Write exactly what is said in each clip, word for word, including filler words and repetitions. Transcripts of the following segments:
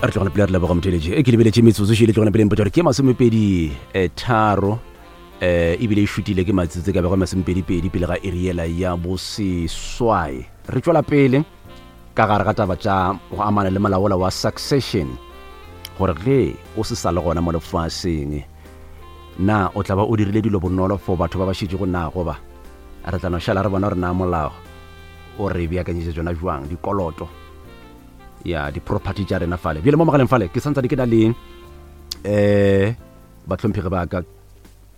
Re tlogela pele, re leboga motheletši. E ke lebeletše metsotso šele tlogela pele, mpotsa gore ke masomepedi eh, tharo, eh ebile e šutile ke matsetse ka bego masomepedipedi pele ga eriela ya boseswai. Re tšwela pele ka gare ga taba tša go amana le molaola wa succession, gore ge o se sa le gona mo lefaseng, na o tla ba o dirile dilo bonolo for batho ba ba šetšego na, goba re tla no šala re bona gore na molao o re beakanyetša tsona jwang dikoloto ya di-property tša rena fale. Bjale mo mogaleng fale ke santsane ke na le um bahlomphegi ba ka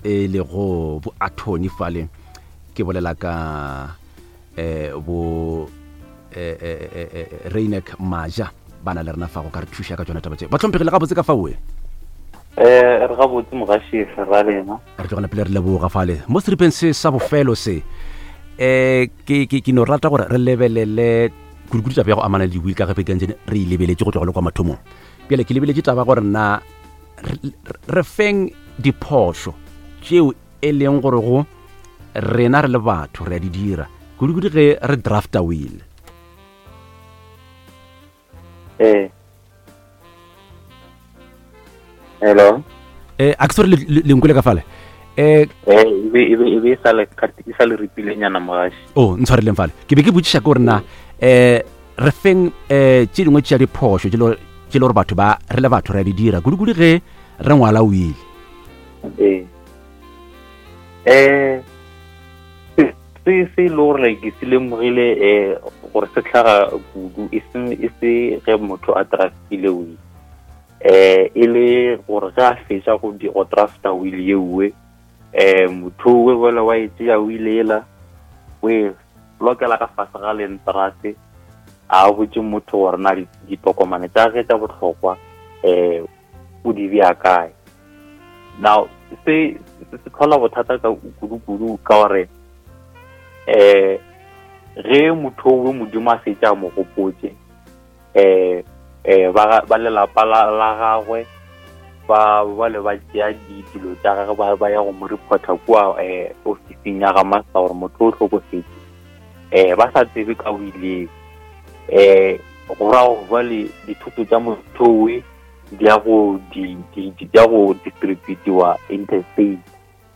e lego bo attorney fale, ke bolela ka um bo eh, eh, eh, eh, Reinek Maja, ba na le rena fa go ka re thuša ka tsona taba tše. Bahlomphegi, le gabotse ka faoe? Eh re gabotse mogaši, ra lena? Re tlogela pele, re leboga fale. Mo seripeng se sa bofelo se, um ke ke ke no rata gore re lebelele kudukudu taba ya go amana le di-will, ka gape kantse re e lebeletše go tloga le kwa mathomong. Bjale ke lebeletše taba gore na re- re feng diphošo tšeo e leng gore go rena re le batho re a di dira kudukudu ge re drafta will. Eh hello? um a ke se gore le ka fale um eh e be e be e be e sa le e sa le ripilenyana mogaši. O ntshwareleng fale, ke be ke botšiša ke gore na um re feng um tše dingwe tša diphošo tše le tše le gore batho ba re le batho re a di dira kudukudu ge re ngwala will. eh eh se se se e le gore like ke se lemogile eh gore se tlhaga kudu, e se e se ge motho a draftile will, eh e le gore ge a fetša go di go drafta will yeuwe, eh motho owe bole wa e tšea will ela, o e lokela ka fase ga lentrase, a botse motho gore na di- ditokomane tša ge tša bohlokwa eh o di bea kae. Now se se se tlhola bothata ka kudu-kudu ka gore eh ge motho owe Modimo a fetša a mo gopotse, eh eh ba ba lelapa la la gagwe ba ba le ba tšea dilo tša gagwe, ba ba ya go mo reporta kua eh ofising ya ga master gore motho o hlokofetse, eh ba sa tsebe ka o ile eh go ra gore jwale dithoto tša motho owe di ya go di di di ya go distributiwa interstate.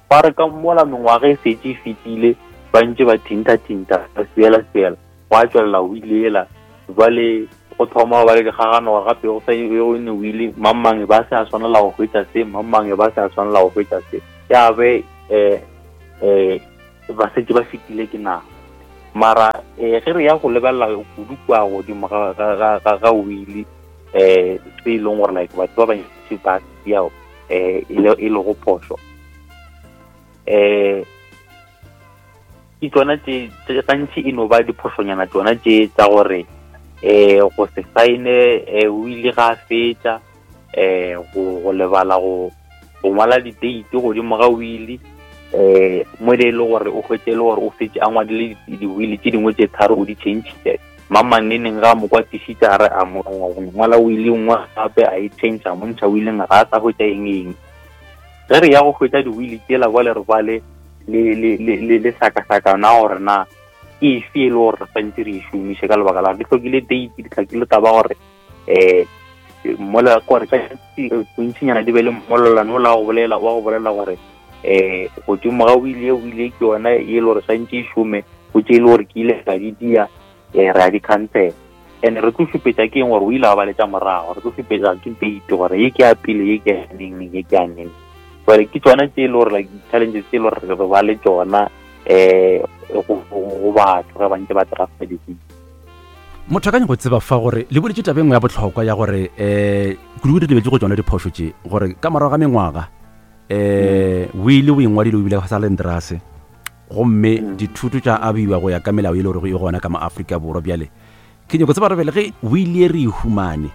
Ba re ka mola mengwaga e setse e fetile, ba ntse ba thinta-thinta, ba swiela-swiela, go a tswelela o ile ela. Jwale go thoma go ba le dikgagano gore gape go sa go ne o ile mang-mang ba se a swanela go hwetša se, mang-mang ba se a swanela go hwetša se, ya be eh eh ba setse ba fetile ke nako. Mara eh ge re ya go lebelela kudu kua godimo ga ga ga ga ga wili, eh se e leng gore like batho ba bantši ba sia eh e le e le go phošo, eh ke tsona tše tše gantši e no ba diphošonyana tsona tše tsa gore eh go se saene eh o ile ga a fetša, eh go go lebala go go ngwala di-date godimo ga wili, eh mo e le gore o hwetše e le gore o fetše a ngwadile di-wili tše dingwe tše tharo, o di change-ile mang mang neng ga a mo kwatišitše, a re a mo ngwala wili nngwe gape a e change, a mo ntšha wileng, ga a sa hwetša eng eng. Ge re ya go hwetša di-wili tsela bjale re ba le le le le le le hlakahlakana gore na ke efe e le gore re santse re e šomiše, ka lebaka la gore di hlokile date, di hlokile taba gore eh mola gore ka bontšinyana di be le mmolelano ola wa go bolela wa go bolela gore eh godimo ga wili e wili ke yona e le gore santse e šome, go tše e le gore ke ile ka di dia, eh re a di cancel. And re tlo šupetša ke eng gore o ile a ba letša morago, re tlo šupetša ke date gore ye ke ya pele, ye ke ya neng neng, ye ke ya neng. Jwale ke tsona tše e le gore like challenges tše e le gore re ba le tsona eh go go batho ge ba ntse ba drafta di-will. Motho a ka nyaka go tseba fa gore le boletše taba e nngwe ya bohlokwa ya gore um kudu-kudu re lebetše go tsona diphošo tše, gore ka morago ga mengwaga um wili o engwadile o bile sa lentrase, gomme dithuto tša abiwa go ya ka melao e le gore e gona ka mo Afrika Borwa. Bjale ke nyako tseba gore bjale ge wili e re e humane,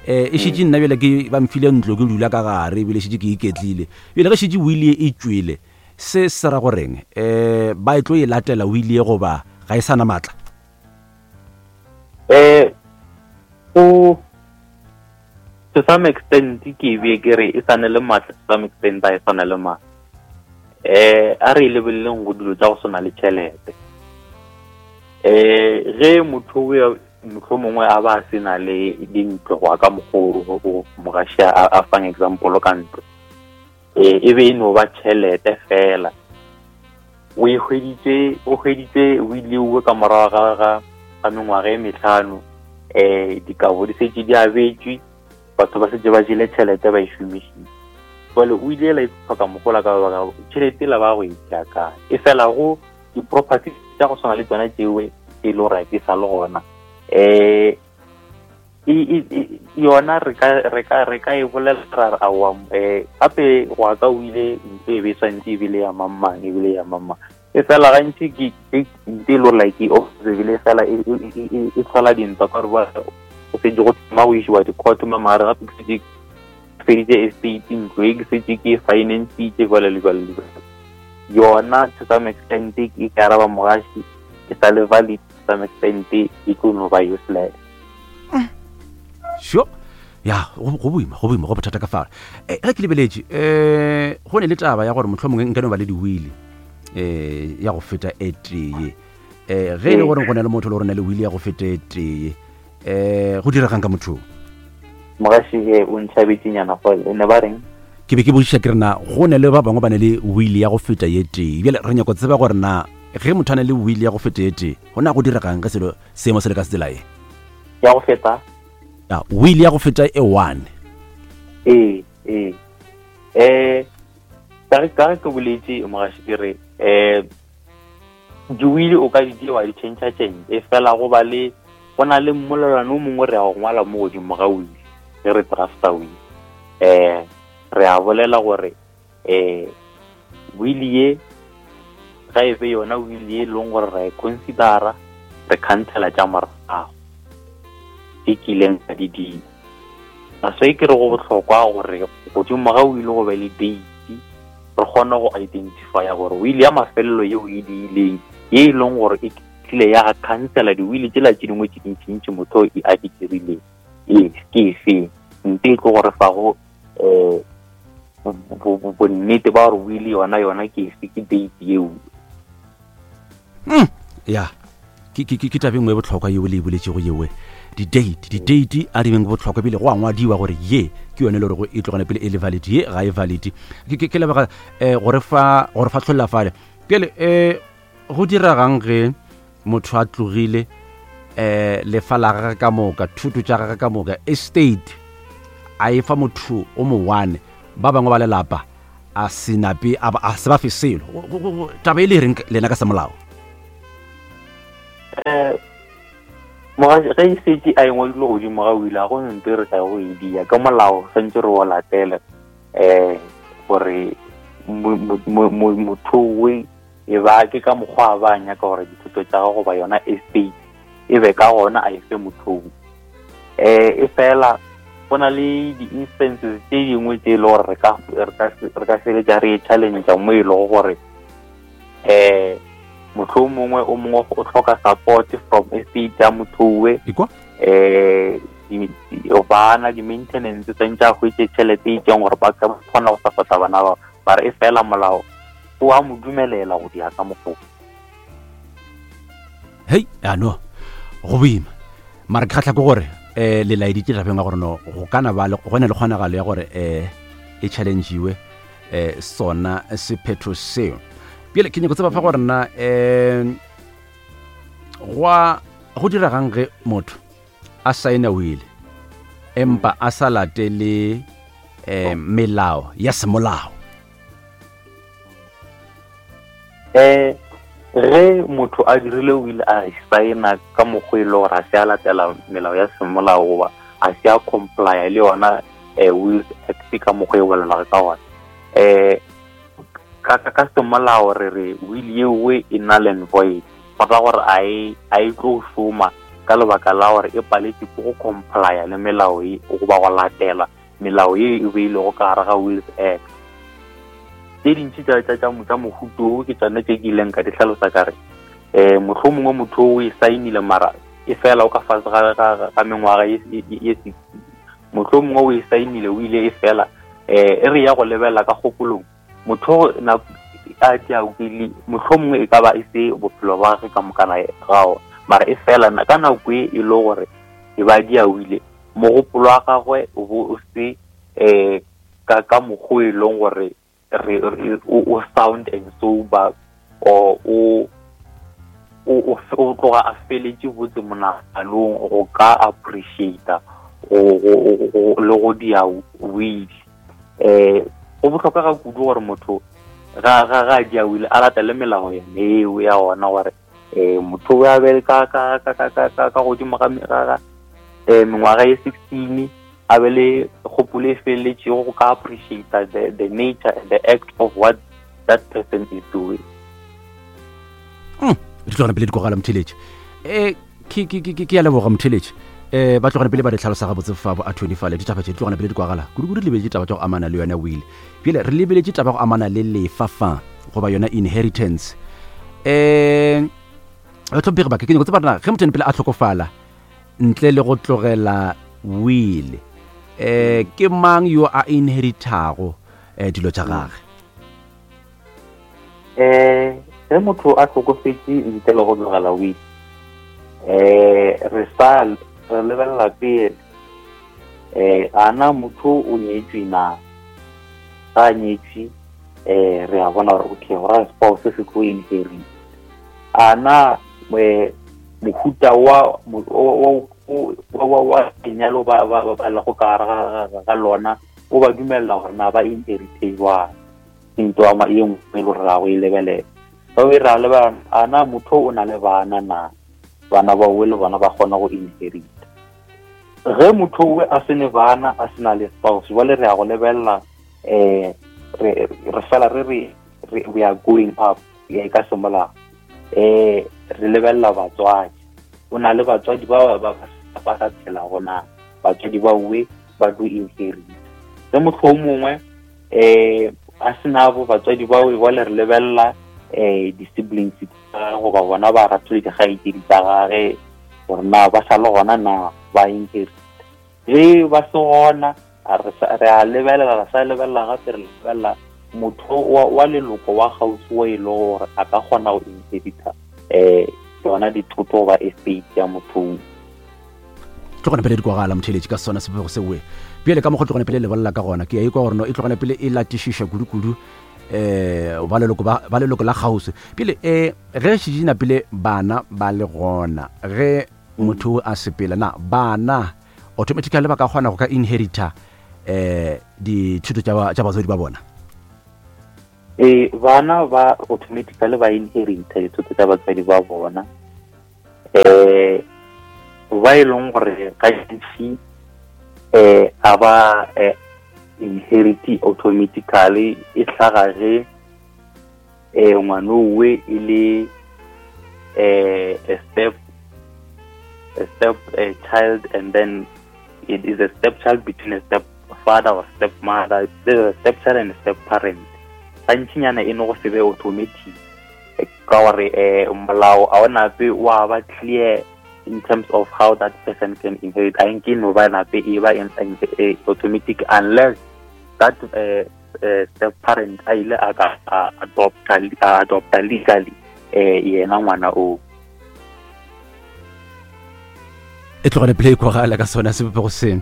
um e šetše nna bjale ke ba mfile ntlo ke dula ka gare, ebile šetše ke iketlile, bjale ge šetše wili e tšwele, se se ra goreng um ba e tlo e latela wili e goba ga e sa na maatla? Eh go to some extent ke be ke re e sa ne le maatla, to some extent a e sa ne le maatla. Eh a re e lebeleleng go dilo tša go swana le tšhelete. Eh ge motho o ya mohlomongwe a ba se na le dintlo go ka mokgwa o mogaši a fang example ka ntlo, e e be e no ba tšhelete fela. O e hweditše, o hweditše o ile o ka morago ga ga ga mengwaga e mehlano, eh dikabo di setse di abetšwe, batho ba setse ba jele tšhelete ba e šomišitše. Jwale o ile la itlhoka mogola ka baka tšhelete la ba go e tšea kae. E fela go di-property tša go swana le tsona tšeo e le gore di sa le gona, eh yona re ka re ka re ka e bolela ra re aowa, eh gape go ya ka o ile ntlo e be swantse ebile ya mang ebile ya mang. E fela gantši ke ntlo e le gore like e observile fela e tlhola dintwa ka gore go setse go thoma go isiwa di-court mo mare gape ke setse feditse estate ntlo e ke setse ke financitse jwale le jwale le jwale. Yona to some extent e ka araba mogaši e sa le valid, to some extent e tlo no ba useless. Sure. Ya, go boima, go boima, go bothata ka fare. Eh ge ke lebeletše, eh go ne le taba ya gore mohlomongwe nka no ba le diwili eh ya go feta e tee. Eh ge e le gore go na le motho le gore na le wili ya go feta e tee, eh go diregang ka motho? Mogaši e o ntšhabetsenyana go ne ba reng? Ke be ke botšiša ke re na go ne le ba bangwe ba ne le wili ya go feta ye tee. Bjale re nyaka go tseba gore na ge motho a ne le wili ya go feta ye tee, go na go diregang ge selo seemo se le ka tsela ye? Ya go feta? Ya, wili ya go feta e one. Ee, ee. Eh ka re ka ke boletše mogaši ke re eh diwili o ka di dira wa di change change, e fela go ba le go na le mmolelwana o mongwe re ya go ngwala mo godimo ga wili ge re drafta wili. Eh re a bolela gore eh wili ye ga e be yona wili ye leng gore ra e considera, re cancela tša morago e kileng ka di dira. So e ke re go bohlokwa gore godimo ga wili go be le date, re kgone go identifya gore wili ya mafelelo yeo e diileng ye e leng gore e tlile ya cancela diwili tsela tše dingwe tše dintšintši motho e a di dirileng e ke efeng, nte e tlo gore fa go eh bonnete ba gore wili yona yona ke efe, ke date yeo. Mm, ya ke ke ke taba e nngwe e bohlokwa yeo le e boletšego yewe. Di-date, di-date a di beng bohlokwa ebile go a ngwadiwa gore ye ke yone le gore e tlogane pele e le valid, ye ga e valid. Ke ke lebega eh gore fa gore fa tlholla fale. Pele eh go diregang ge motho a tlogile eh lefa la gagwe ka moka, thuto tša gagwe ka moka, estate a e fa motho o mo one, ba bangwe ba lelapa a se nape a se ba fe selo. Taba e le reng lena ka semolao? Eh mogaši ge e setse a e ngwadile godimo ga wili a go nto re ka go e dia ka molao santse re o latele eh gore motho we e ba ke ka mokgwa ba nyaka gore dithuto tša gago goba yona estate e be ka gona a e fe mothong. Eh e fela go na le di-instances tše dingwe tše e le gore re ka re ka feletša re e challenge mo e lego gore eh motho mongwe o mongwe o hloka support from estate ya motho we, eh bana di-maintenance tsantse a hwetše tšhelete e itseng gore ba ka kgona go support-a bana bao, ba re e fela molao o a mo dumelela go dia ka mokgwa. Hei, ano go boima mara ke kgatlha ke gore eh le laeditše tabeng ya gore no go kana ba le go ne le kgonagalo ya gore eh e challengewe eh sona sephetho seo. Bjale ke nyako tseba fa gore nna eh gwa go diregang ge motho a saena wili empa a sa latele eh melao ya semolao? Eh ge motho a dirile wili a saena ka mokgwa e le gore a se a latela melao ya semolao goba a se a complya le yona eh Wills Act ka mokgwa e bolelago ka gona, eh ka ka semolao re re wili yeo e null and void, go ra gore a e a e tlo šoma ka lebaka la gore e paletše ke go complya le melao e goba go latela melao ye e beilego ka gare ga Wills Act. Tše dintši tša tša tša mohuto o ke tsone tše ke ileng ka di hlalosa ka re eh mohlomongwe motho o e saenile mara e fela o ka fase ga ga mengwaga ye ye sixty, mohlomongwe o e saenile o ile e fela eh e re ya go lebelela ka kgopolong motho na a tša wili mohlomongwe e ka ba e se bophelo ba gagwe ka mokana gao Mara e fela ka nako e e le gore e ba dia wile mogopolo wa gagwe o bo o se eh ka ka mokgwa e leng gore re o sound and sober or o o o tloga a feletše botse monaganong go ka appreciate go le go dia will. Eh go bohlokwa ga kudu gore motho ga ga ga dia will a latele melao yone eo ya ona gore eh motho o a be ka ka ka ka ka ka godimo ga ga eh mengwaga ye sixteen a be le kgopolo e feletšego go ka appreciate the the nature and the act of what that person is doing. Mm di tlogana pele di kogala motheletše. Eh ke ke ke ke ya leboga motheletše. Eh ba tlogana pele ba di tlhalosa gabotse fa bo attorney fale ditaba tše di tlogana pele di kwagala kudu-kudu re lebeletše taba tša go amana le yona will. Bjale re lebeletše taba go amana le lefa fa goba yona inheritance. Eh bahlomphegi ba ka ke nyako tseba rena ge motho pele a hlokofala ntle le go tlogela will, eh ke mang yo a inheritago eh dilo tša gagwe? Eh ge motho a hlokofetše ntle le go tlogela will, eh re sa re lebelela pele eh ana motho o nyetšwe na ga nyetšwe, eh re a bona gore okay go ra spouse se tlo inherit. Ana mohuta wa wa wa lenyalo ba ba ba lego ka gare ga lona o ba dumella gore na ba inherite jwang. Ntho e nngwe e le gore ra go e lebelela ba be ra lebelela ana motho o na le bana na bana ba o le bona ba kgona go inherit. Ge motho o a sene bana a sena le spouse jwale re ya go lebelela eh re re fela re re we are going up ya ka semolao. Eh re lebelela batswadi, o na le batswadi ba ba ba sa phela gona, batswadi ba we ba do inherit. Ge motho o mongwe eh a sena bo batswadi ba we jwale re lebelela eh di-siblings tsa goba bona ba ratho le dikgaetšedi tsa gage gore na ba sa le gona na ba inherit. Ge ba se gona re a lebelela re sa lebelela gape re lebelela motho wa leloko wa kgauswi wa e le gore a ka kgona go inherita eh tsona dithoto goba estate ya motho. Tlogana pele di kwagala motheletše ka sona sebopego sewe. Bjale ka mokgwa tlogana pele le bolela ka gona ke a ikwa gore no e tlogana pele e latišiša kudu-kudu eh ba leloko ba leloko la kgauswi. Bjale eh ge šetše pele bana ba le gona ge motho a sepela na bana automatically ba ka kgona go ka inherita eh dithuto tša tša batswadi ba bona? Eh bana ba automatically ba inherita dithuto tša batswadi ba bona. Eh ba e leng gore gantši eh a ba inherit automatically e hlaga ge eh ngwanowe e le eh a step a step a child, and then it is a step child between a step father or step mother. There's a step child and a step parent. Gantšinyana e no go se be automatic ka gore eh molao a ona pe wa ba clear in terms of how that person can inherit. I think no ba nape e ba automatic unless that uh, uh, step parent a ile a ka adopt adopt legally eh yena ngwana o. E tlogane pele e kwagala ka sona sebopego seng.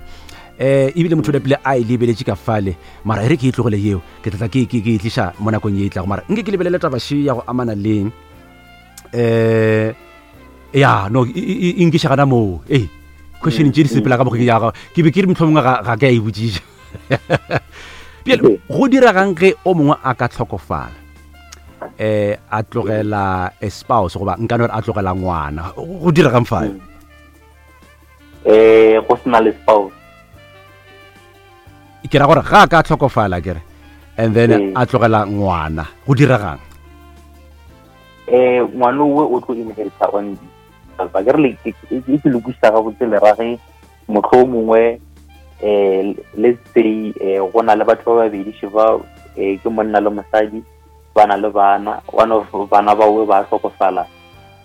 Eh ebile motho o pele a e lebeletše ka fale mara e re ke e tlogele yeo ke tla ke ke ke tliša mo nakong ye e tlago mara nke ke lebelele taba še ya go amana leng eh ya no e nkiša gana moo ee question tše di sepela ka mokgwa ya gago ke be ke re mohlomongwe ga ga ke a e botšiša. Bjale go diregang ge o mongwe a ka hlokofala eh a tlogela a spouse goba nka no re a tlogela ngwana go diregang fa? Eh go sena le spouse ke ra gore ga a ka hlokofala ke re and then a tlogela ngwana go diregang? Eh ngwana o o tlo inherita on ba ke re le ke ke lokiša gabotse le ra ge motho o mongwe eh let's say eh go na le batho ba babedi ba eh ke monna le mosadi ba na le bana, one of bana ba we ba hlokofala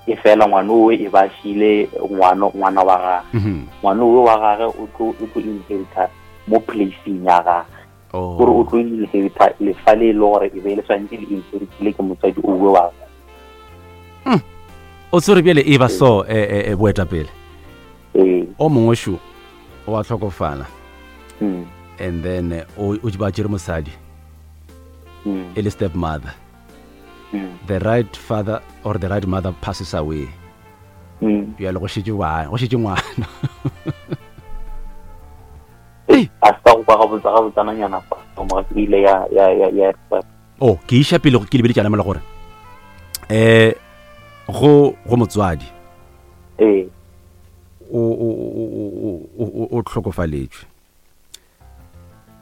e fela ngwana o e ba šile ngwana ngwana wa gagwe ngwana o wa gagwe o tlo o tlo inherita mo placing ya gagwe gore o tlo inherita lefa le e le gore e be le swantse le inheritile ke motswadi o we wa gagwe. O tsore bjale e ba so eh, eh, boetapele. Ee. O mongwe šo o a hlokofala. Mm. And then eh, o o ba tšere mosadi Mm. e le step mother. Mm. The right father or the right mother passes away. Mm. Bjale go šetše ngwana, go šetše ngwana. A se ka go kwa gabotse gabotsananyana fa mo e ile ya ya ya ya Oh, ke iša pele ke lebeletšana mola gore eh go go motswadi ee o o o o o o tlhokofaletšwe.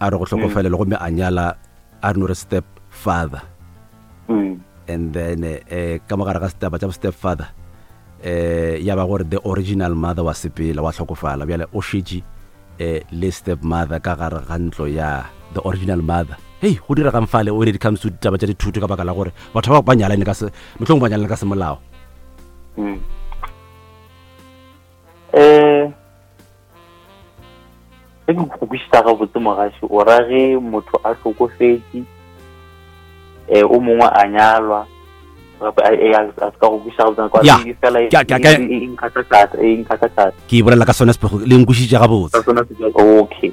A re go tlhokofalela gomme a nyala a re no re step father. Mm. And then eh ka mogare ga setaba tša step father eh ya ba gore the original mother wa sepela wa tlhokofala. Bjale o šetše eh le step mother ka gare ga ntlo ya the original mother. Hey, go diregang fale when it comes to ditaba tša dithuto ka baka la gore batho ba ba nyalane ka se mohlomongwe ba nyalane ka semolao. Mm. Eh ge ke go kwešiša gabotse mogaši o ra ge motho a hlokofetše eh o mongwe a nyalwa gape a e, a a se ka go kwešiša gabotse kwa Ya, e fela e ke a- ke a- ke a- e- e- e nkgahla thata e nkgahla thata Ke e bolela ka sona sepego le nkwešiša gabotse. ka sona se- okay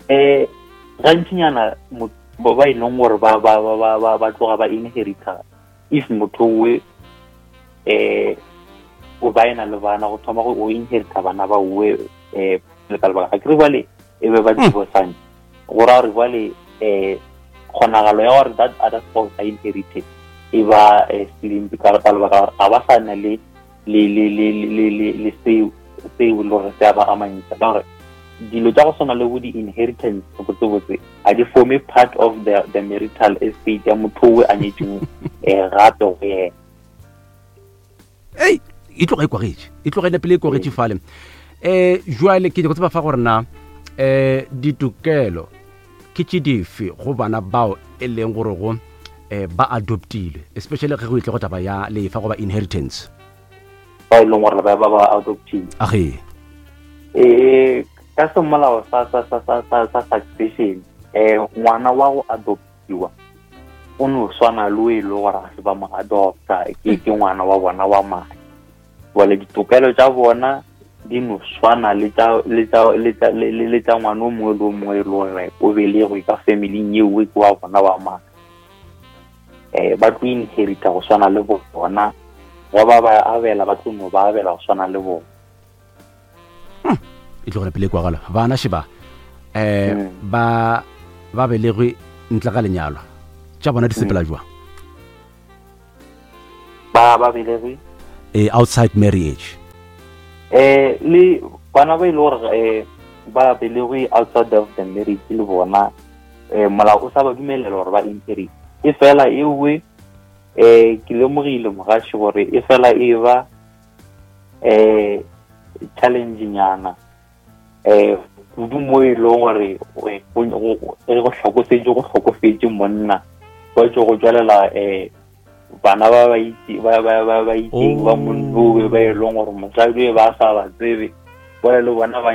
eh gantšinyana mo- ba ba e leng gore ba ba ba ba ba ba tloga ba inherita if motho owe eh o ba ena le bana go thoma go o inherita bana ba owe eh le ka lebaka ga ke re bale e be ba divorcane go raya gore bale eh kgonagalo ya gore that other spouse a inherited e ba eh, slim ka ka lebaka la gore ga ba sa na le le le le le le le seo seo le gore se a ba amantšha ka gore dilo tša go swana le bo di-inheritance botsebotse ga di forme part of the, the marital estate ya motho owe a nyetseng um gape go yena. Ei, e tloga e kwagetše, e tloga e napile e kwagetše fale. Eh jwale ke nyaka go tseba fa gore na eh ditokelo ke tše dife go bana bao e leng gore go eh ba adoptilwe, especially ge go itle go taba ya lefa goba inheritance. Ba e leng gore ba ba ba adoptile. Age. Eh ka semolao sa sa sa sa sa sa succession eh ngwana wa go adoptiwa o no swana le o e le gore ga se ba mo adopta ke ke ngwana wa bona wa madi. Jwale ditokelo tša bona di no swana le tša le tša le tša le le le tša ngwana o mongwe le o mongwe e le gore o belegwe ka familing eo ke wa bona wa madi. Eh ba tlo inherita go swana le bona, ba ba ba abela ba tlo no ba abela go swana le bona. E tlo gore pele kwagala bana sheba eh Mm. ba ba belegwe ntle ga lenyalo tša bona di sepela jwang? Ba ba belegwe Eh outside marriage. Eh le bana ba e le gore eh ba belegwe outside of the marriage le bona eh molao o sa ba dumelela gore ba inherit. E fela ewe eh ke lemogile mogaši gore e fela e ba eh challenge nyana eh kudu mo e leng gore go go hlokofetše go hlokofetše monna ba tšo go tswalela eh bana ba ba itse ba ba ba ba itseng ba Oh. monnowe ba e leng gore mosadi e ba sa ba tsebe bona le bona ba